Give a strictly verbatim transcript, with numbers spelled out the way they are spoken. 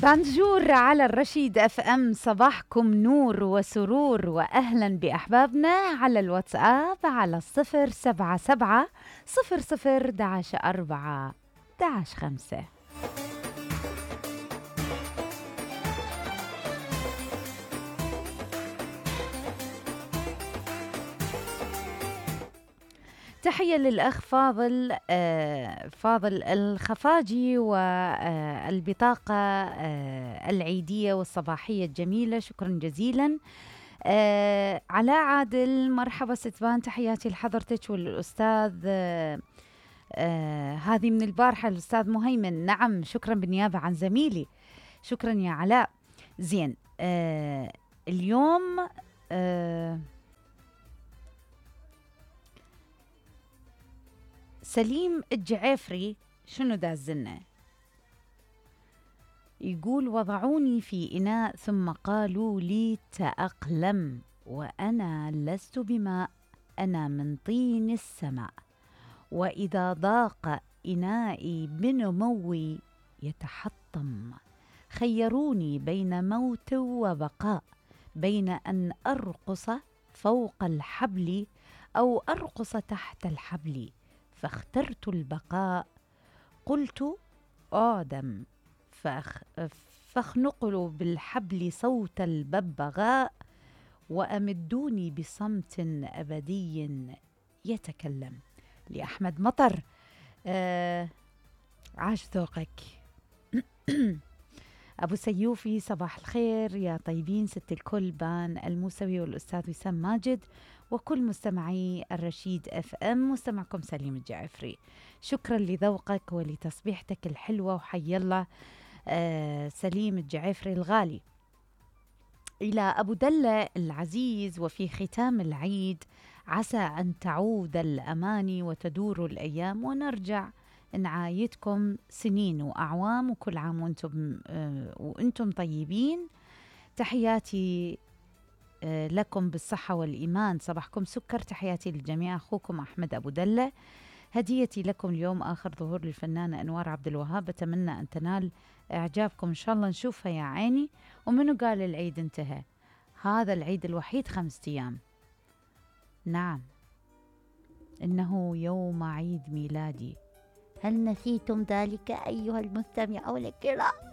بانجور على الرشيد اف ام، صباحكم نور وسرور، واهلا باحبابنا على الواتساب على صفر سبعة سبعة صفر صفر داش اربعة داش خمسة. تحية للأخ فاضل آه فاضل الخفاجي والبطاقة آه العيدية والصباحية الجميلة، شكرا جزيلا. آه علاء عادل، مرحبا ستبان، تحياتي لحضرتك والأستاذ آه آه هذه من البارحة الأستاذ مهيمن. نعم شكرا بالنيابة عن زميلي، شكرا يا علاء. زين آه اليوم آه سليم الجعيفري شنو دازلنا؟ يقول وضعوني في إناء ثم قالوا لي تأقلم، وأنا لست بماء، أنا من طين السماء، وإذا ضاق إنائي بنموي يتحطم، خيروني بين موت وبقاء، بين أن أرقص فوق الحبل أو أرقص تحت الحبل، فاخترت البقاء. قلت آدم فأخ فاخنقلوا بالحبل صوت الببغاء، وأمدوني بصمت أبدي يتكلم. لأحمد مطر، آه عاش ذوقك. أبو سيوفي، صباح الخير يا طيبين، ست الكل، بان الموسوي والأستاذ وسام ماجد وكل مستمعي الرشيد اف ام، مستمعكم سليم الجعفري. شكرا لذوقك ولتصبيحتك الحلوة، وحي الله آه سليم الجعفري الغالي. إلى أبو دلة العزيز، وفي ختام العيد عسى أن تعود الأماني وتدور الأيام ونرجع نعايدكم سنين وأعوام، وكل عام وأنتم آه وأنتم طيبين. تحياتي آه لكم بالصحة والإيمان، صباحكم سكر، تحياتي للجميع، أخوكم أحمد أبو دلة. هديتي لكم اليوم آخر ظهور للفنانة أنوار عبد الوهاب، بتمنى أن تنال إعجابكم، إن شاء الله نشوفها يا عيني. ومنو قال العيد انتهى؟ هذا العيد الوحيد خمسة أيام. نعم إنه يوم عيد ميلادي، هل نسيتم ذلك أيها المستمعون الكرام؟